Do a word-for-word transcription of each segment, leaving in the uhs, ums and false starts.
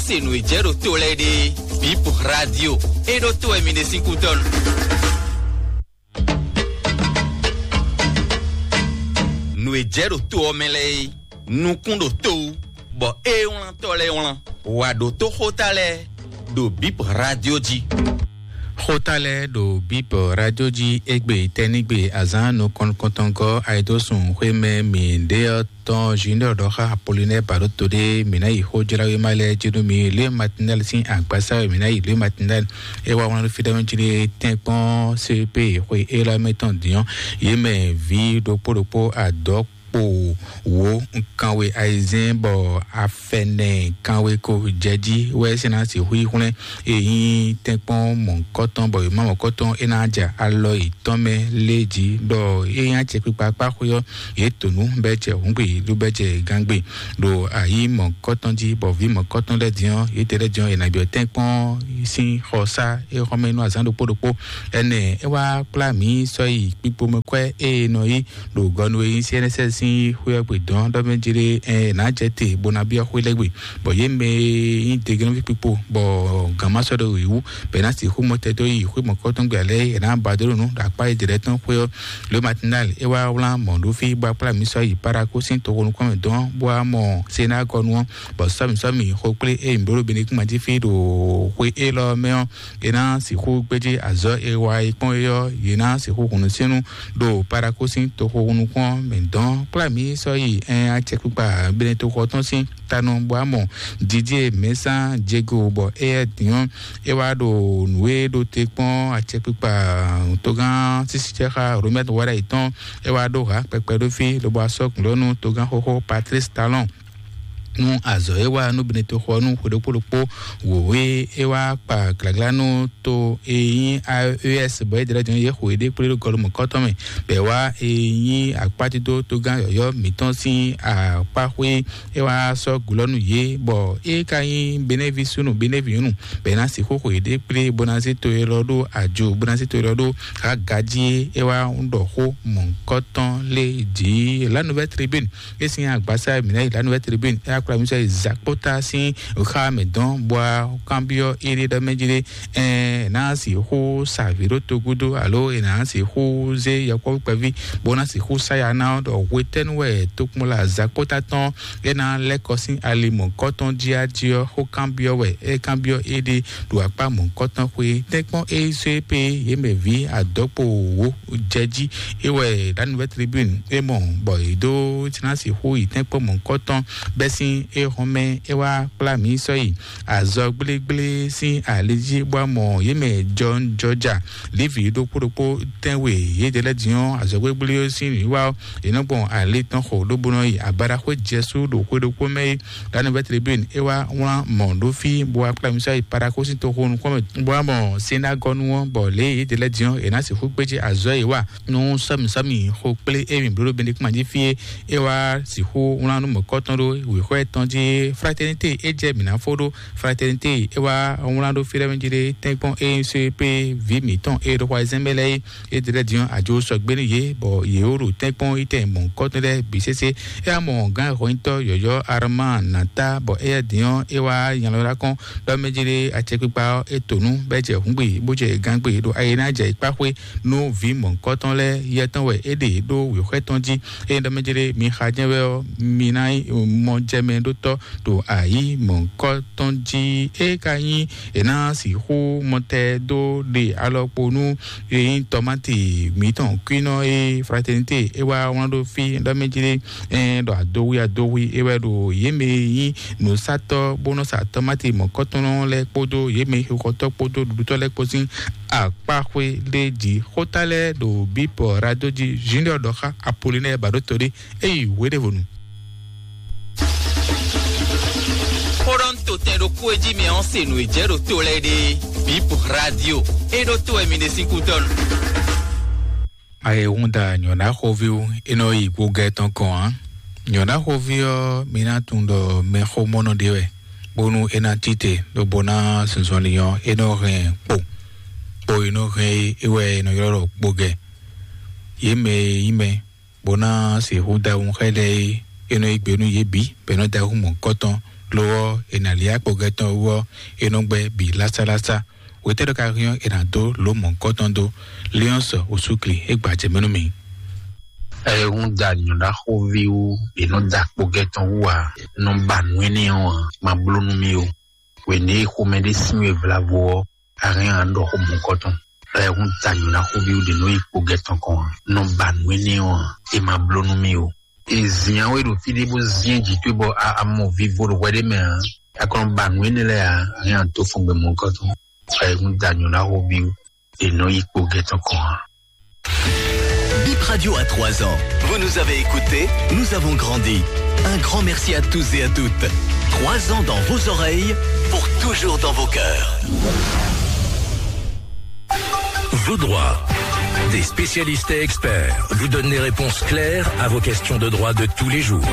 Te nǔ e jɛ ɖo to lɛ́ɛ ɖe, Bip Radio, é ɖó to wɛ mi ɖe sín kútɔ́ nu. Nǔ e jɛ ɖo to ɔ́ mɛ lɛ́ɛ é, nukún ɖo to wú, bɔ é wlántɔ́ lɛ́ɛ wlán. Wǎ ɖó tó xóta lɛ́ɛ ɖo Bip Radio jí. Xóta lɛ́ɛ ɖo Bip Radio jí égbé tɛ́nigbe azǎn nukɔn nukɔntɔngɔ́ ayidósun xwé mɛ mǐ ɖe ɔ́ tɔn Junior ɖɔ xá Apollinaire Baɖoto ɖé, mǐ ná yi xójláwéma lɛ́ɛ jí nú mi. Lě Matinal sín agbasa wɛ mǐ ná yi. Lě Matinal é wá wlán ɖó fí ɖé mɛ jí ɖé tɛ́nkpɔ́n C P xwe élɔ́ mɛ tɔn dǐn ɔ́, yě mɛ vǐ ɖokpó ɖokpó adɔ̌ kpo wǒ kanwe ayizɛ́n bɔ afɛnɛ kanwe ko jɛ jí wɛ é sɛ́ ná sixú yi hwlɛ́n. E nyí tɛ́nkpɔ́n mɔ̌hunkɔtɔn bɔ è má mɔ̌hunkɔtɔn é ná ja alɔ yětɔn mɛ lé jí ɖɔ é nyí acɛkpikpa kpá xwé ɔ́, yě to nǔ bɔ é jɛ hǔngbe ló bɔ é jɛ gángbe ɖo ayǐ mɔ̌hunkɔtɔn jí, bɔ vǐ mɔ̌hunkɔtɔn lɛ́ɛ din ɔ́, yětɛn lɛ́ɛ din ɔ́, è nǎ byɔ́ tɛ́nkpɔ́n sín xɔsá é xɔ́mɛ nú azǎn ɖokpó ɖokpó. Ɛnɛ é wá kplá mǐ sɔ́ yi kpikpomɛkwɛ́ e è nɔ yí ɖo gɔnu e nyí C N S S sín xwé ɔ́ gbe dɔn ɖɔ mɛ jí ɖé ɛ nǎ jɛ te bó ná byɔ́ xwé lɛ́ɛ gbe, bɔ yě mɛ e nyí degenɔ́ví kpikpo bɔ gǎn ma sɔ́ ɖo yě wú, bɔ è nǎ sixú mɔ tɛ́ dó yi xwé mɔ̌kɔtɔn gbe alɛ è nǎ ba dó ɖo nǔ ɖo akpá e dě lɛ́ɛ tɔn xwé ɔ́. Lě Matinal é wá wlán mɔ̌ ɖó fí bó wá kplá mǐ sɔ́ yi Paraku sín toxo nukúnmɛ dɔn bó wá mɔ Senágɔnu ɔ́, bɔ sɔ́mǐ sɔ́mǐ xo kplé e mǐ bló ɖo Benekúnma jí fí ɖo xwe élɔ́ mɛ ɔ́, è nǎ sixú gbéjé azɔ̌ e wa e kpɔ́n é ɔ́, yě ná sixú hun nǔ sín nú ɖo Paraku sín toxo nukún ɔ́ mɛ dɔn. Kplá mǐ sɔ́ yi ɛn acɛkpikpa Benetoxo tɔn sín tanɔ bɔ amɔ Didier Mɛsán Diego bɔ éyɛ́ din ɔ́, é wá ɖo nǔ e ɖo te kpɔ́n acɛkpikpa togán sísícɛ́xá Romɛt Wáɖa yětɔn, é wá ɖó hǎ kpɛkpɛ ɖó fí lobo asɔ́ gǔlɔ́nú togán xóxó Patrice Talon nú azɔ̌ e wa nú Benetoxo ɔ́ nú xwe ɖokpó ɖokpó wǒ e é wá kpa glǎglá nú to e nyí A E S bɔ é ɖlɛ́ din yě xo yěɖée kplé ɖo gɔlumɔ̌kɔ́tɔn mɛ, bɔ è wá e nyí akpájídó togán yɔ̌yɔ́ mǐtɔn sín akpá xwé, é wá sɔ́ gǔlɔ́ nú yě, bɔ é ka nyí Benɛ́ví súnnu Benɛ́ví nyɔ̌nu, bɔ è nǎ sixú xo yěɖée kplé bó ná zé to élɔ́ ɖó ajo, bó ná zé to élɔ́ ɖó hǎ gají é wá ɖɔ xó mɔ̌hunkɔtɔn lé jǐ. La Nouvelle Tribune é sín agbasa mǐ ná yi La Nouvelle Tribune é akplá mǐ sɔ́ yi Zakpota sín xá mɛ dɔn bɔ kanbyɔ́ éɖée ɖɔ mɛ jí ɖé, ɛ ná sixú sa vǐ ɖó togúdo alo è nǎ sixú zé yɔkpɔ́vú kpɛví bó ná sixú sa ya ná ɔ́ ɖɔ hwetɛ́nu wɛ tokpɔnla Zakpota tɔn é ná lɛ́ kɔ sín ali mɔ̌hunkɔtɔn jí á jí ɔ́, xó kanbyɔ́ wɛ é kanbyɔ́ éɖée ɖo akpá mɔ̌hunkɔtɔn xwé. Tɛ́nkpɔ́n é zé pé yě mɛ vǐ adɔkpo wǒ jɛ jí é wɛ La Nouvelle Tribune é mɔ bɔ yě dó ná sixú yi tɛ́nkpɔ́n mɔ̌hunkɔtɔn bɛ́ sín é hɔn mɛ é wá kplá mǐ sɔ́ yi azɔ gblégblé sín ali jí bó wá mɔ yě mɛ jɔnjɔja Livi ɖokpó ɖokpó tɛ́nwe yědɛɛ lɛ́ɛ din ɔ́, azɔ̌gbégbélé ɔ́ sín nǔwiwa ɔ́, è nɔ gbɔn ali tɔn xo lobo nɔ yi abaɖaxwé Jɛsu ɖo xwe ɖokpó mɛ é. La Nouvelle Tribune é wá wlán mɔ̌ ɖó fí bó wá kplá mǐ sɔ́ yi Paraku sín toxo nukún mɛ bó wá mɔ Senágɔnu ɔ́, bɔ lě e yědɛɛ lɛ́ɛ din ɔ́, è nǎ sixú gbéjé azɔ̌ e wa nú sɔ́mǐsɔ́mǐ xo kplé émí bló ɖo Benedikma jí fí é, é wá sixú wlán nú mɔ̌kɔtɔn ɖó wěxwɛ́ tɔn jí. Fraternité é jɛ mǐ ná fó ɖó. Fraternité é wá wlán ɖó fí lɛ́ɛ mɛ jí ɖé tɛ́nkpɔ́n é nyí C P vǐ mǐtɔn e ɖo xwazɛ́n mɛ lɛ́ɛ é. É ɖe lɛ́ɛ din ɔ́, ajo sɔgbe nú yě, bɔ yě wó ɖo tɛ́nkpɔ́n yi tɛn mɔ̌hunkɔtɔn lɛ́ɛ bǐ sésé. É wá mɔ gǎn hɔnyitɔ́ yɔ̌yɔ́ Armán Nata, bɔ éyɛ́ din ɔ́, é wá nya lɔ ɖó akɔ́n ɖɔ mɛ jí ɖé acɛkpikpa ɔ́, é to nǔ, bɔ é jɛ hǔngbe, bó jɛ gǎngbe ɖo ayi ná jɛ yi kpá xwé nú vǐ mɔ̌hunkɔtɔn lɛ́ɛ. Yɛ tɔn wɛ é ɖe ɖó wěxwɛ́ tɔn jí. Ényí ɖɔ mɛ jí ɖé mi xa jɛ́n wɛ ɔ́, mi ná nyí mɔjɛmɛɖótɔ́ ɖo ayǐ mɔ̌hunkɔtɔn jí. É ka nyí è nǎ sixú mɔtɛ dó ɖe alɔkpo nú e nyí tɔmáti mǐtɔn kwínɔ e Fraternité é wá wlán ɖó fí ɖɔ mɛ jí ɖé, ɛ ɖɔ adowi adowi é wɛ ɖo yě mɛ e nyí nǔsatɔ́ bó nɔ sa tɔmáti mɔ̌kɔtɔn lɛ́ɛ kpódó yě mɛ xixɔtɔ́ kpódó ɖuɖutɔ́ lɛ́ɛ kpó sín akpáxwé lé jí. Xóta lɛ́ɛ ɖo bípɔ rado jí. Junior ɖɔ xá Apollinaire Baɖótolí é yi wěɖévonu. Xó ɖɔ un to tɛn ɖokpó e jí mi ɔ́ se nǔ e jɛ ɖo to lɛ́ɛ ɖe. Bip Radio é ɖó to wɛ mi ɖe sín kútɔ́nu. Ayehúnda nyɔ̌ná xóví wú é nɔ yi gbogɛ tɔn kɔn ǎ. Nyɔ̌ná xóví ɔ́, mi ná tunwun ɖɔ mɛxómɔnɔ ɖé wɛ, bónú é ná tite lobo ná zunzɔnlin ɔ́, é nɔ hɛn kpo, kpo e nɔ hɛn é é wɛ è nɔ ylɔ́ ɖɔ gbogɛ. Yě mɛ e nyí mɛ bó ná sixú da wunxɛ lɛ́ɛ é, é nɔ yí gbe nú yě bǐ, bɔ é nɔ da wú mɔ̌hunkɔtɔn. Lo ɔ́, è nǎ lyá kpɔgɛ́ tɔn wú ɔ́, é nɔ gbɛ́ bǐ lásálásá. Wětɛ́ ɖɔ ka hɛn ɔ́, è nǎ dó lǒ mɔ̌hunkɔtɔn dó. Léɔ́nsɔ osúkli é gbajɛ mɛ nú mì. Ɛ hún da nyɔ̌ɖaxóví wú, è nɔ da kpɔgɛ́ tɔn wú ǎ, nɔ ba nǔ énɛ́ ɔ́ ǎ, ma bló nú mì ó. Wěné e xomɛ ɖé sín we vlavo ɔ́, a hɛn a ɖɔ xó mɔ̌hunkɔtɔn. Ɛ hún da nyɔ̌ɖaxóví wú ɖě nɔ yi kpɔgɛ́ tɔn kɔn ǎ, nɔ ba nǔ énɛ́ ɔ́ ǎ, é ma bló nú mì ó. È zǐn we ɖo fí ɖé bó zín jǐ towe bɔ a a mɔ vivo ɖo hwɛ ɖé mɛ ǎ. A kɔn ba nǔ énɛ́ lɛ́ɛ ǎ, a hɛn a dó fɔn gbɛ mɔ̌hunkɔtɔn. Ɛ hún da nyɔ̌ɖaxóví wú, è nɔ yi kpɔgɛ́ tɔn kɔn ǎ. Bip Radio a trois ans. Vous nous avez écoutés, nous avons grandi. Un grand merci à tous et à toutes. Trois ans dans vos oreilles, pour toujours dans vos cœurs. Vos droits. Des spécialistes et experts vous donnent des réponses claires à vos questions de droit de tous les jours.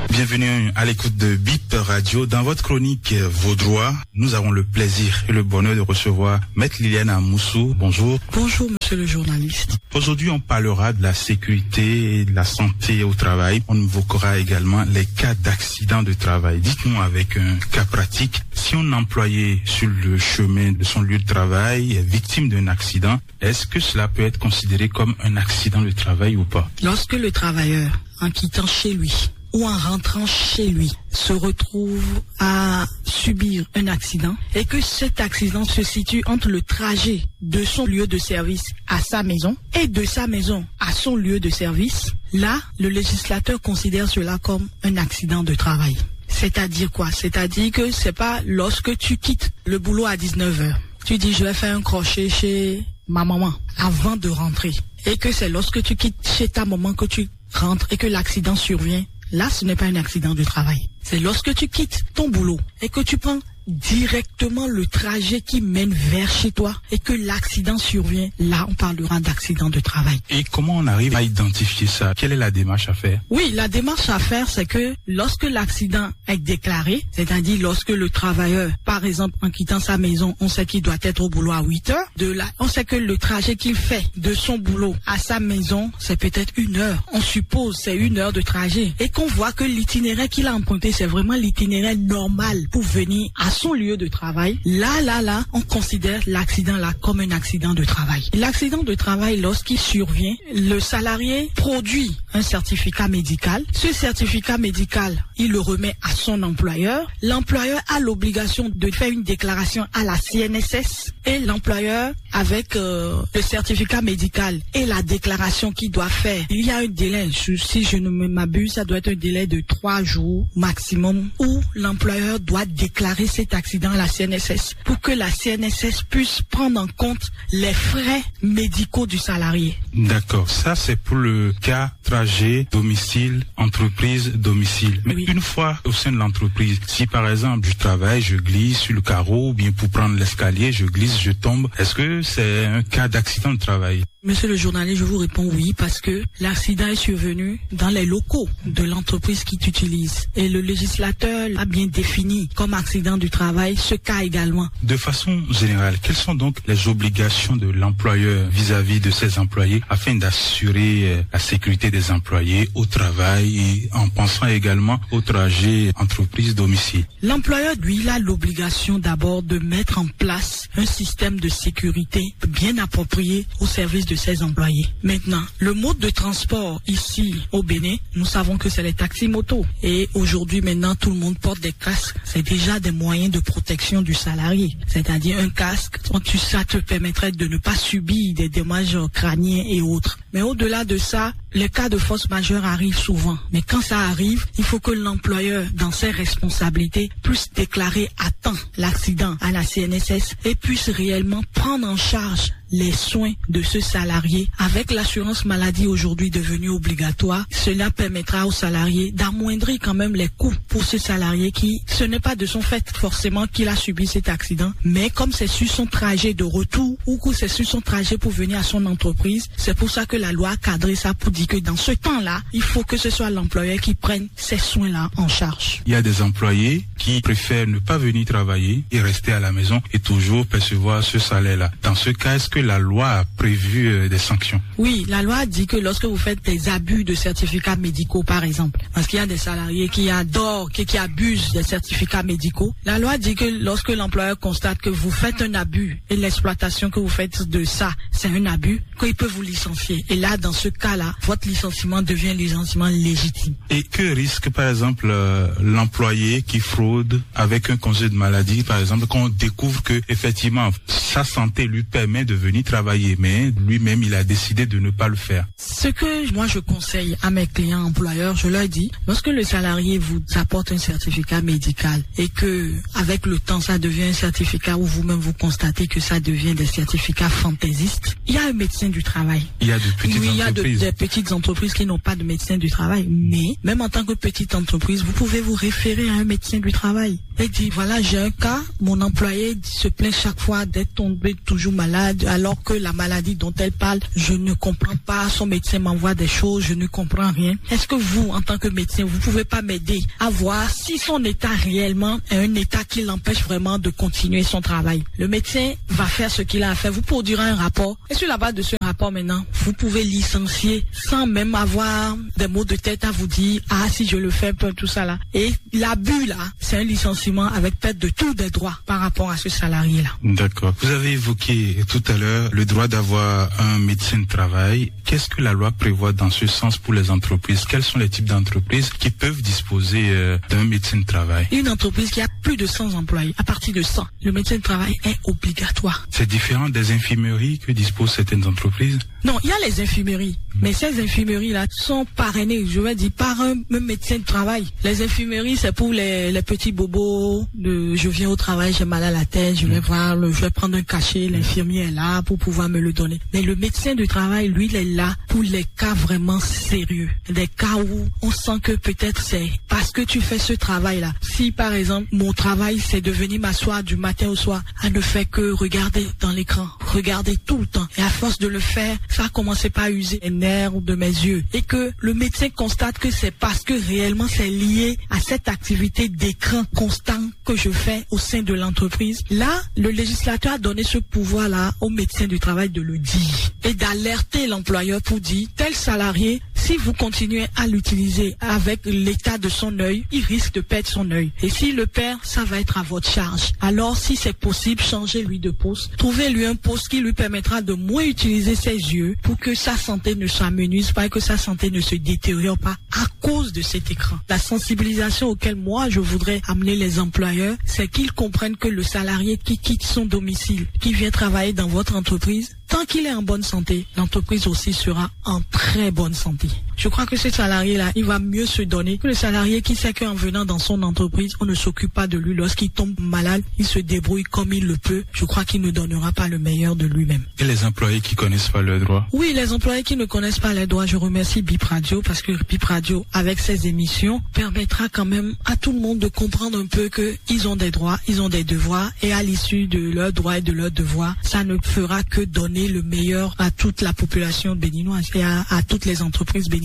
Bienvenue à l'écoute de Bip Radio. Dans votre chronique, euh, Vos droits, nous avons le plaisir et le bonheur de recevoir Maître Liliane Amoussou. Bonjour. Bonjour, monsieur le journaliste. Aujourd'hui, on parlera de la sécurité et de la santé au travail. On évoquera également les cas d'accident de travail. Dites-nous avec un cas pratique, si un employé sur le chemin de son lieu de travail est victime d'un accident, est-ce que cela peut être considéré comme un accident de travail ou pas ? Lorsque le travailleur, en quittant chez lui ou en rentrant chez lui, se retrouve à subir un accident et que cet accident se situe entre le trajet de son lieu de service à sa maison et de sa maison à son lieu de service, là, le législateur considère cela comme un accident de travail. C'est-à-dire quoi ? C'est-à-dire que c'est pas lorsque tu quittes le boulot à dix-neuf heures, tu dis, je vais faire un crochet chez ma maman avant de rentrer. Et que c'est lorsque tu quittes chez ta maman que tu rentres et que l'accident survient. Là, ce n'est pas un accident de travail. C'est lorsque tu quittes ton boulot et que tu prends directement le trajet qui mène vers chez toi et que l'accident survient. Là, on parlera d'accident de travail. Et comment on arrive à identifier ça ? Quelle est la démarche à faire ? Oui, la démarche à faire, c'est que lorsque l'accident est déclaré, c'est-à-dire lorsque le travailleur, par exemple, en quittant sa maison, on sait qu'il doit être au boulot à huit heures, de là, on sait que le trajet qu'il fait de son boulot à sa maison, c'est peut-être une heure. On suppose c'est une heure de trajet. Et qu'on voit que l'itinéraire qu'il a emprunté, c'est vraiment l'itinéraire normal pour venir à son lieu de travail. Là, là, là, on considère l'accident là comme un accident de travail. L'accident de travail, lorsqu'il survient, le salarié produit un certificat médical. Ce certificat médical, il le remet à son employeur. L'employeur a l'obligation de faire une déclaration à la C N S S et l'employeur, avec, euh, le certificat médical et la déclaration qu'il doit faire, il y a un délai. Je- si je ne me- m'abuse, ça doit être un délai de trois jours maximum où l'employeur doit déclarer cet accident à la C N S S pour que la C N S S puisse prendre en compte les frais médicaux du salarié. D'accord, ça c'est pour le cas trajet domicile, entreprise, domicile. Mais oui, une fois au sein de l'entreprise, si par exemple je travaille, je glisse sur le carreau ou bien pour prendre l'escalier, je glisse, je tombe, est-ce que c'est un cas d'accident de travail ? Monsieur le journaliste, je vous réponds oui parce que l'accident est survenu dans les locaux de l'entreprise qui t'utilise. Et le législateur a bien défini comme accident du travail ce cas également. De façon générale, quelles sont donc les obligations de l'employeur vis-à-vis de ses employés afin d'assurer, euh, la sécurité des employés au travail et en pensant également au trajet entreprise-domicile ? L'employeur, lui, il a l'obligation d'abord de mettre en place un système de sécurité bien approprié au service de ses employés. Maintenant, le mode de transport ici au Bénin, nous savons que c'est les taxis motos. Et aujourd'hui, maintenant, tout le monde porte des casques. C'est déjà des moyens de protection du salarié. C'est-à-dire un casque, quand tu, ça te permettrait de ne pas subir des dommages crâniens et autres. Mais au-delà de ça, les cas de force majeure arrivent souvent. Mais quand ça arrive, il faut que l'employeur, dans ses responsabilités, puisse déclarer à temps l'accident à la C N S S et puisse réellement prendre en charge les soins de ce salarié. Avec l'assurance maladie aujourd'hui devenue obligatoire, cela permettra au salarié d'amoindrir quand même les coûts pour ce salarié qui, ce n'est pas de son fait forcément qu'il a subi cet accident, mais comme c'est sur son trajet de retour ou que c'est sur son trajet pour venir à son entreprise, c'est pour ça que la loi a cadré ça pour dire que dans ce temps-là, il faut que ce soit l'employeur qui prenne ces soins-là en charge. Il y a des employés qui préfèrent ne pas venir travailler et rester à la maison et toujours percevoir ce salaire-là. Dans ce cas, est-ce que la loi a prévu, euh, des sanctions ? Oui, la loi dit que lorsque vous faites des abus de certificats médicaux, par exemple, parce qu'il y a des salariés qui adorent, qui, qui abusent des certificats médicaux, la loi dit que lorsque l'employeur constate que vous faites un abus et l'exploitation que vous faites de ça, c'est un abus, qu'il peut vous licencier. Et là, dans ce cas-là, votre licenciement devient un licenciement légitime. Et que risque, par exemple, euh, l'employé qui fraude avec un congé de maladie, par exemple, quand on découvre que, effectivement, sa santé lui permet de venir travailler, mais lui-même, il a décidé de ne pas le faire ? Ce que moi je conseille à mes clients employeurs, je leur dis, lorsque le salarié vous apporte un certificat médical et que, avec le temps, ça devient un certificat où vous-même vous constatez que ça devient des certificats fantaisistes, il y a un médecin du travail. Il y a de petites entreprises. Oui, il y a de, des petites entreprises qui n'ont pas de médecin du travail. Mais même en tant que petite entreprise, vous pouvez vous référer à un médecin du travail. Elle dit, voilà, j'ai un cas, mon employé se plaint chaque fois d'être tombé toujours malade, alors que la maladie dont elle parle, je ne comprends pas, son médecin m'envoie des choses, je ne comprends rien. Est-ce que vous, en tant que médecin, vous pouvez pas m'aider à voir si son état réellement est un état qui l'empêche vraiment de continuer son travail ? Le médecin va faire ce qu'il a à faire, vous produira un rapport. Et sur la base de ce rapport maintenant, vous pouvez licencier sans même avoir des maux de tête à vous dire, ah, si je le fais, tout ça là. Et l'abus là, c'est un licenciement avec perte de tous des droits par rapport à ce salarié-là. D'accord. Vous avez évoqué tout à l'heure le droit d'avoir un médecin de travail. Qu'est-ce que la loi prévoit dans ce sens pour les entreprises ? Quels sont les types d'entreprises qui peuvent disposer, euh, d'un médecin de travail ? Une entreprise qui a plus de cent employés, à partir de cent, le médecin de travail est obligatoire. C'est différent des infirmeries que disposent certaines entreprises ? Non, il y a les infirmeries. Mais ces infirmeries-là sont parrainées, je vais dire, par un, un médecin de travail. Les infirmeries, c'est pour les, les petits bobos de, je viens au travail, j'ai mal à la tête, je vais voir le, je vais prendre un cachet, l'infirmier est là pour pouvoir me le donner. Mais le médecin de travail, lui, il est là pour les cas vraiment sérieux. Des cas où on sent que peut-être c'est parce que tu fais ce travail-là. Si, par exemple, mon travail, c'est de venir m'asseoir du matin au soir, à ne faire que regarder dans l'écran, regarder tout le temps. Et à force de le faire, ça a commencé par user les nerfs de mes yeux. Et que le médecin constate que c'est parce que réellement c'est lié à cette activité d'écran constant que je fais au sein de l'entreprise. Là, le législateur a donné ce pouvoir-là au médecin du travail de le dire et d'alerter l'employeur pour dire, tel salarié, si vous continuez à l'utiliser avec l'état de son œil, il risque de perdre son œil. Et s'il le perd, ça va être à votre charge. Alors, si c'est possible, changez-lui de poste. Trouvez-lui un poste qui lui permettra de moins utiliser ses yeux pour que sa santé ne s'amenuise pas et que sa santé ne se détériore pas à cause de cet écran. La sensibilisation auquel moi je voudrais amener les employeurs, c'est qu'ils comprennent que le salarié qui quitte son domicile, qui vient travailler dans votre entreprise, tant qu'il est en bonne santé, l'entreprise aussi sera en très bonne santé. Je crois que ce salarié-là, il va mieux se donner que le salarié qui sait qu'en venant dans son entreprise, on ne s'occupe pas de lui. Lorsqu'il tombe malade, il se débrouille comme il le peut. Je crois qu'il ne donnera pas le meilleur de lui-même. Et les employés qui connaissent pas leurs droits ? Oui, les employés qui ne connaissent pas leurs droits, je remercie Bip Radio parce que Bip Radio, avec ses émissions, permettra quand même à tout le monde de comprendre un peu que ils ont des droits, ils ont des devoirs et à l'issue de leurs droits et de leurs devoirs, ça ne fera que donner le meilleur à toute la population béninoise et à, à toutes les entreprises béninoises.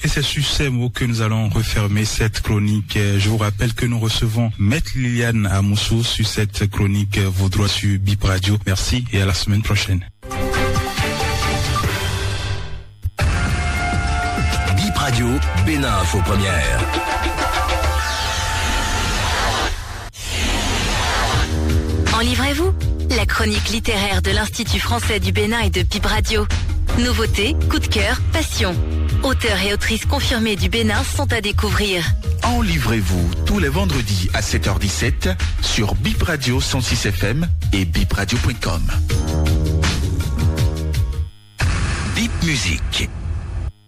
Et c'est sur ces mots que nous allons refermer cette chronique. Euh, je vous rappelle que nous recevons Maître Liliane Amoussou sur cette chronique, euh, Vos droits sur Bip Radio. Merci et à la semaine prochaine. Bip Radio, Bénin Info Première. En livrez-vous ? La chronique littéraire de l'Institut français du Bénin et de Bip Radio. Nouveautés, coup de cœur, passion. Auteurs et autrices confirmés du Bénin sont à découvrir. En livrez-vous tous les vendredis à sept heures dix-sept sur Bip Radio cent six F M et bipradio point com. Bip Musique.